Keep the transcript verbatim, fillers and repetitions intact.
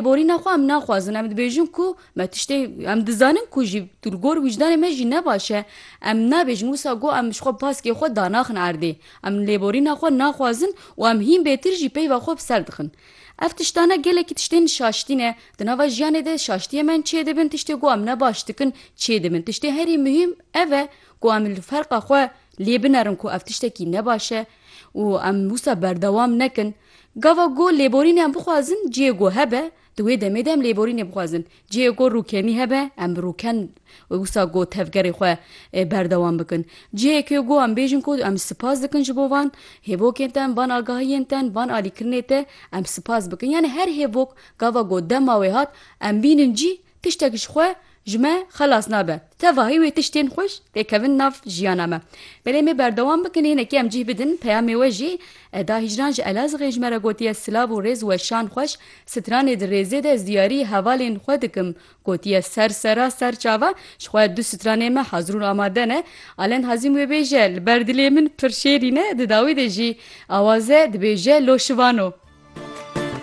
lêborîna xwe em naxwazin. Em dibêjin ku me tiştê, em dizanin ku jî tu li gor wijdanê me jî ne baş e. Em nabêjin wisa got em ji xwe paskê xwe danaxin erdê. Em lêborîna xwe naxwazin û em hîn bêtir jî peyva xwe bi ser dixin. Ev tiştane gelekî tiştên şaştî ne. Di nava jiyanê de şaştiyê me çê dibin, tiştê ku em ne baş dikin çê dibin. Tiştê herî muhîm ev e ku em li ferqa xwe lê binerin ku ev tiştekî ne baş e û em wisa berdewam nekin. Gava ku lêborînê em bixwazin cihê ku hebe, di wê demê de em lêborînê bixwazin. Cihê ku rûkenî hebe, em bi rûken wisa ku tevgerê xwe, e, berdewam bikin. Cihê ku em bêjin ku em spas dikin ji bo van hêvokên te, van agahiyên te, van alîkirinê te, em spas bikin. Yani her hêvok gava ku dema wê hat, em bînin cî, tiştek ji xwe, ji me xelas nabe. Tevahî wê tiştên xweş têkevin nav jiyana me. Belê me berdewam bikin, hinekî em cih bidin peyamê we jî. Eda Hîcran ji Elazığê ji me re gotiye, silav û rêz we şan xweş, stranê di rêzê de ez diyarî hevalên xwe dikim. Gotiye, ser sera ser çava, ji xwe du stranê me hazir û amade ne. Alen Hazîm wê bêje, li ber dilê min pir şêrîn e, di dawî de jî awaze dibêje, lo şivano.